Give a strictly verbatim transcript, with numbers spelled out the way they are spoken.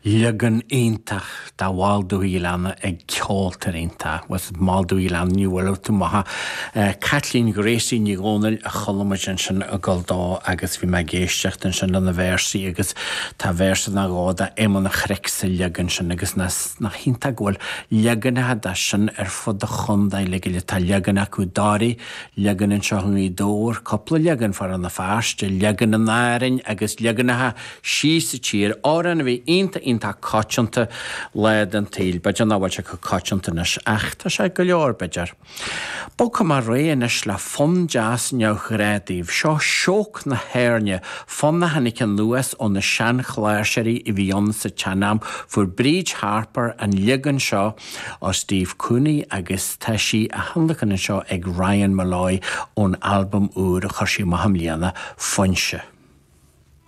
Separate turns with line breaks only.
Leagan iontach de Mholl Dúthaigh Ghleanna ag ceoltóir iontach with Moll Dúthaigh Ghleanna ní bhfuil tú maith. Caitlín Ghracie Ní Dhomhnaill a chuala muid ansin ag gabháil dó agus bhí mé ag éisteacht ansin lena véarsaí agus tá véarsa nó dhó de Éamonn an Chnoic sa leagan sin agus nach iontach go bhfuil leaganacha de sin ar fud an chontae le go tá leagan acu Dáirí, leagan anseo i nGaoth Dobhair, cúpla leagan Farraige na Feirste, leagan in Árainn agus leaganacha síos sa tír, amhrán a bhí iontach iontach coitianta lá den tsaol, b'fhéidir nach bhfuil sé chomh coitianta anois ach tá sé go leor b'fhéidir. Bogfaidh mé ar aghaidh anois le fonn deas neamhghnách daoibh, seo Sióg na hÉirne, fonn a tháinig anuas ó na seanchláirseoirí a bhí ann sa tsean-am, fuair Bríd Harper an leagan seo ó Steve Cooney agus tá sí á thionlacan anseo ag Ryan Molloy ón albam úr a chuir sí amach i mbliana, Foinse.